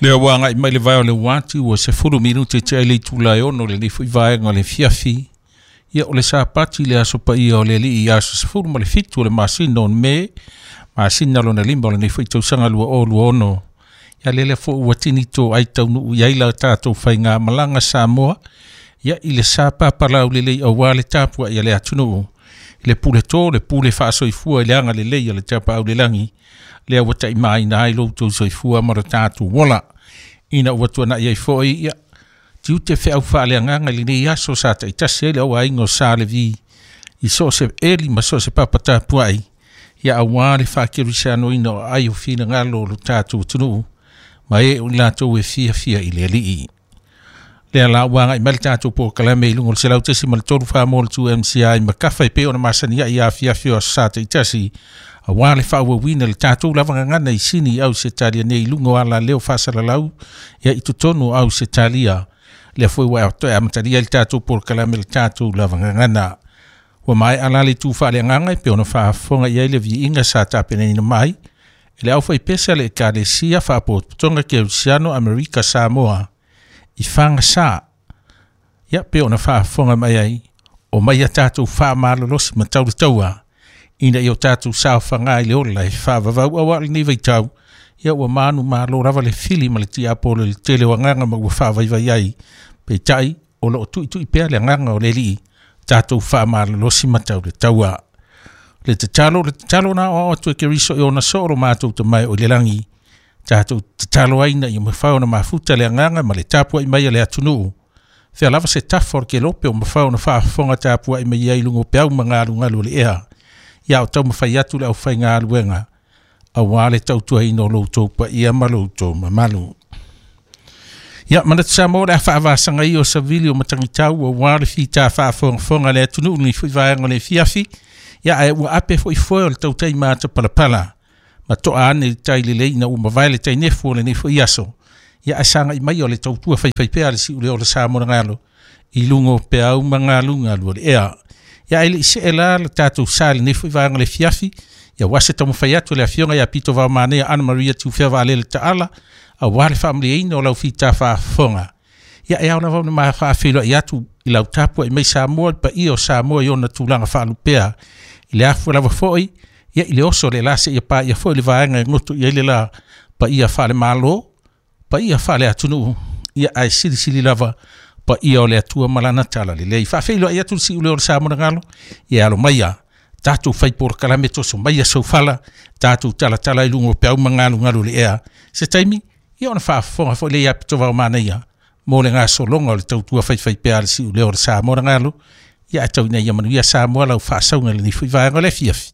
Lea ua agai mai le vae o le uati ua 10 minute tea i le itula e 6 lenei foi vaega o le afiafi. Ia o le Sapati le aso paia o le Alii, aso 17 o le masina o Me, masina lona 5 o lenei foi tausaga 2026. Ia lele foi ua tini to ai taunuu i ai la tatou faigamalaga Samoa, ia i le sapapalau lelei aua le tapuai a le atunuu i le pule to, le pule faasoifua i le agalelei o le Tapaau i le Lagi, lea ua taimaina ai lo outou soifua ma lo tatou ola. Ina ua tuanai ai foi ia tiute feau faaleagaga i lenei aso sa taitasi ai le auaiga o Sa Levi i so o se eli ma so o se papa tapuai, ia aua le faakerisianoina o ai o finagalo o lo tatou atunuu ma e o i latou e fiafia i le Alii. Lea la ua agai mai le tatou polokalame i luga o le 100.3 Faamolutu MCI ma kafa e pei ona masani ai afiafi o aso sa taitasi, aua le faaauauina le tatou lava gagana i Sini au Setalia nei i luga o ala leo faasalalau ia i totonu o au Setalia. Lea foi ua toe amatalia le tatou polokalame le tatou lava gagana. Ua maea la le itu faaleagaga e pei ona faafofoga i ai le viiga sa tapenaina mai e le aufaipese a le Ekalesia Faapotopotoga Kerisiano Amerika Samoa i Fagasa. Ia pei ona faafofoga mai ai, o mai a tatou faamalolosi ma tau le taua ina ia o tatou saofaga i le ola e faavavau aua lenei vaitau. Ia ua manu malo lava le fili ma le tiapolo i le tele o agaga ma ua faavaivai ai, peitai o loo tuitui pea le agaga o le Alii tatou faamalolosi ma tau le taua. Le tatalo, le tatalo na aoao atu e Keriso i ona soo lo matou Tama e o i le lagi, tatou tatalo ai ina ia mafai ona mafuta le agaga ma le tapuai mai a le atunuu. Fea lava se tafa o le kelope o mafai ona faafofoga tapuai mai ai i luga o peau ma galugalu o le ea. Ia o taumafai atu le aufaigaluega aua le tautuaina o lo outou paia ma lo outou mamalu. Ia manatu Samoa o le a faavasaga ia o savili o matagitau aua le fita faafogafoga a le atunuu ni foi vaega o le afiafi. Ia ae ua ape foi foe o le tautai matapalapala ma toa ane i tai lelei ina ua mavae le tainefu o lenei foi aso. Ia ae sagai mai o le tautua faifaipea a le siuleo o le Sa Monagalo i luga o peau ma galugalu o le ea. Ia ae le i see la le tatou sa i lenei foi vaega o le afiafi, ia aua se taumafai atu le afioga ia Pito Vaomanea Ana Maria Tiufea Vaalele Taala aua le faamalieina o lau fita faafofoga. Ia e ao lava ona ma faafeiloai atu i lau tapuai mai Samoa, le paia o Samoa i ona tulaga faalupea i le afua lava foi ia i le oso o le la seia paia foi le vaega e goto i ai le la, paia faale-Malo, paia faale-atunuu, ia ae silisili lava paia o le Atua ma lana tala lelei. Faafeiloai atu le siuleo o le Sa Monagalo, ia alo maia tatou fai polokalame toso mai soufala tatou talatala i luga o peau ma galugalu o le ea. Se taimi ia ona faafofoga foi le ia Pito Vaomanaia mo le gasologa o le tautua faifaipea a le siuleo o le Sa Monagalo. Ia ae tau ina ia manuia Samoa lau faasauga i lenei foi vaega o le afiafi.